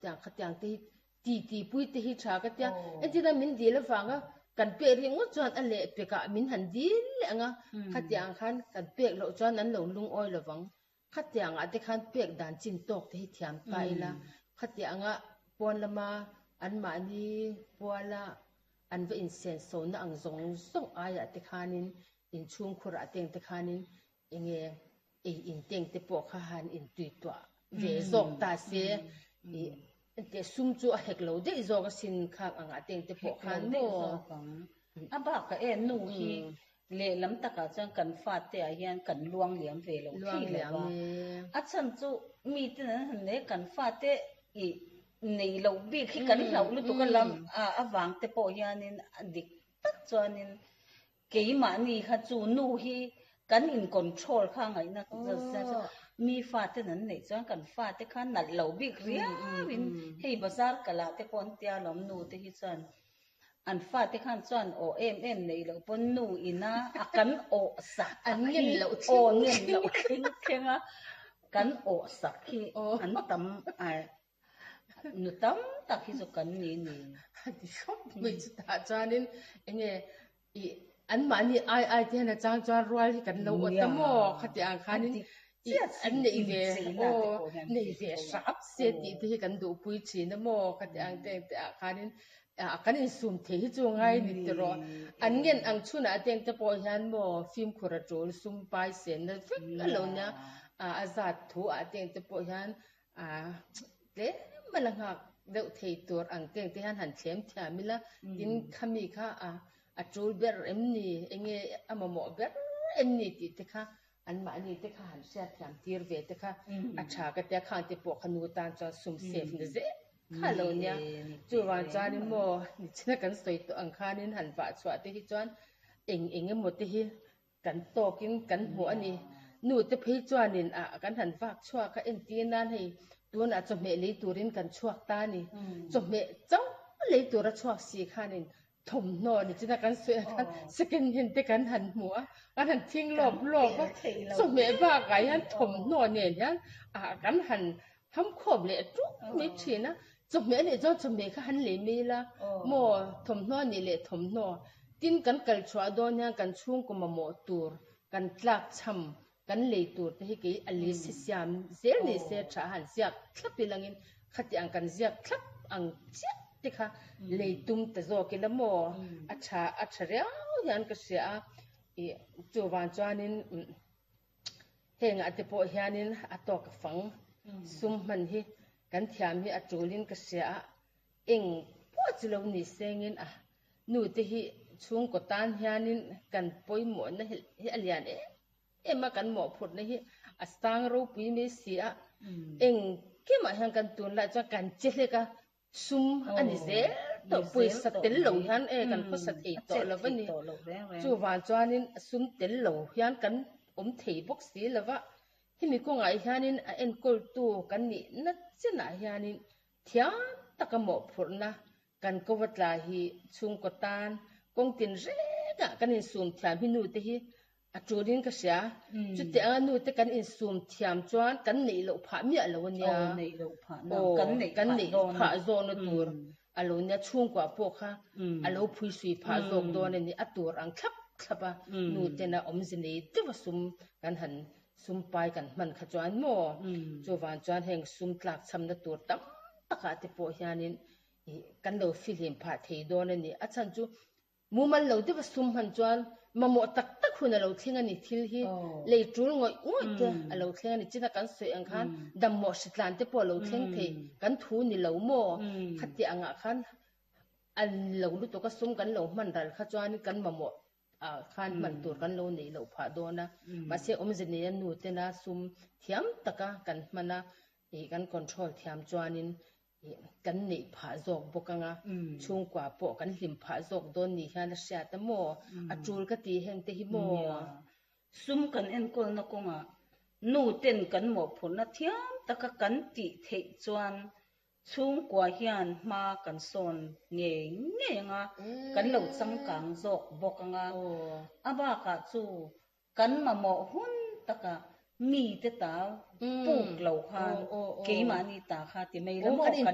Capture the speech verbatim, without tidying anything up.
Tiang khatiang te hi ti ti pui te hi tha ka tia. Entirna min dil avanga kan pek ringawt chuan a leh pekah min han dil leh ang a, khatiang khan kan pek loh chuan an lo lungawi lovang. Khatiangah te khan pek dan chin tawk te hi thiam ta ila, khatianga pawn lama anmahni puala an va insenso-na ang zawng zawng aiah te khanin inchhungkhurah teng te khanin enge ei inteng te pawh kha han intuituah ve zawk ta se ih engteh sum chu a hek lo daih zawk asin khang angah teng te pawh khan maw. A bakah e nu hi lehlam takah chuan kan fate ah hian kan luang liam ve lo thei lo va, a chhan chu miten an han nei kan fate ih nei loh bik hi kan hlauh lutuk a lam avang te pawh hianin a dik tak chuanin Keimahni kha chu nu hi kan in control kha ngaihna mi faten an neih chuan kan fate kha nalh lo bik riau in hei bazar kal ah te pawh an tia lawm nu te hi chuan an fate khan chuan aw em em neih loh pawn nu ina a kan awh sak An ngen loh aw ngen loh thleng thleng a kan awh sak hi an tam Nu tam tak hi chu kan ni ni. A ti khawp mai chutah chuanin enge ih anmahni ai ai te hian a chang chuan rual hi kan lo awt a maw khati ang khanin ih an neih ve aw nei ve hrap se tih te hi kan duhpui thin a maw khati ang te ang te ah khanin ah kan insum thei hi chu ngai ni tiraw an ngen ang chhunah te ang te pawh hian maw fimkhur a tul sum pai senna vek a lo nia a zat thu ah te ang te pawh hian A tlem a la nghak deuh thei tur ang teng te hian han thlem thiam ila, tin khami kha a a tul ber em ni, enge a mamawh ber em ni tih te kha anmahni te kha han hriat thiam tir ve te kha a tha ka tia, khang te pawh kha nu tan chuan sum safe na zel kha lo nia. Chuvang chuanin maw nichina kan sawi tawh ang khanin han vah chhuah te hi chuan eng eng emaw te hi Kan tawkin kan hmuh a ni. Nute phei chuanin ah kan han vak chhuak a, entir nan hei tunah chawhmeh lei turin kan chhuak ta a ni. Chawhmeh chauh lei tura chhuak si khanin thawmhnaw ni china kan sawi ang khan second hand te kan han hmu a, kan han thing lawp lawp a, chawhmeh bakah hian thawmhnaw nen hian ah kan han Ham khawp leh ṭuk mai ṭhin a, chawhmeh a nih chuan chawhmeh kha han lei mai ila maw thawmhnaw a nih leh thawmhnaw tin kan kal chhuah dawn hian kan chhungkaw mamawh tur kan tlak chham kan lei tur te hi kei a list hi siam zel ni se tha a han ziak thlap ilangin khati ang kan ziak thlap ang chiah te kha lei tum ta zawk ila maw a tha a tha riau hian ka hria a ih chuvang chuanin Hengah te pawh hianin a tawk a fang sum hman hi kan thiam hi a tulin ka hria a, eng pawh chu lo ni sengin a nu te hi chhungkaw tan hianin kan pawimawhna hi a lian em em a, kan mawhphurhna hi a sang ropui mai si a, engkimah hian kan tunlai chuan kan che hlek a, Sum a ni zel tawh, pawisa tel lo hian e kan khawsa thei tawh lo a ni. Chuvang chuanin sum tel lo hian kan awm thei bawk si lo va, hemi kawngah hianin a enkawltu kan nihna chenah hianin thiam taka mawhphurhna kan ko va tla hi chhungkaw tan kawng tin rengah kan insum thiam hi nute hi A tulin ka hria. Chutiang anga nute kan insum thiam chuan kan neih loh phah miah lo a nia. Aw, neih loh phah na. Aw, Kan neih kan phah neih dawn. phah zawkna tur a lo nia. Chhungkua pawh kha a lo phuisui phah zawk dawn a ni. A tur ang thlap thlap a, nutena awmze nei deuh a sum kan han sum pai kan hman kha chuan maw? Chuvang chuan heng sum tlak chhamna tur tam takah te pawh hianin kan lo fihlim phah thei dawn a ni. A chhan chu Mumal lo deuh a sum hman chuan mamawh tak tak hun a lo thleng a ni. Thil hi lei tul ngawih ngawih te a lo thleng a ni. China kan sawi ang khan dammawh hritlan te pawh a lo thleng thei. Kan thu ni lo maw? Khati angah khan a lo lutuk a sum kan lo hman ral kha chuan kan mamawh ah khan hman tur kan lo neih loh phah dawn a. Mahse awmze neia nu tena sum thiam taka kan hman a, ih kan control thiam chuanin Kan neih phah zawk bawk anga, chhungkua pawh kan hlim phah zawk dawn ni hian a hriat a maw? A tul ka ti heng te hi maw? Nia, sum kan enkawlna kawngah nu ten kan mawhphurhna thiam taka kan tih theih chuan chhungkua hian hma kan sawn ngei ngei anga, kan lo changkang zawk bawk anga, a bakah chu Kan mamawh hun takah mite ta puk lo khan keimahni ta kha ti mai la maw kan neih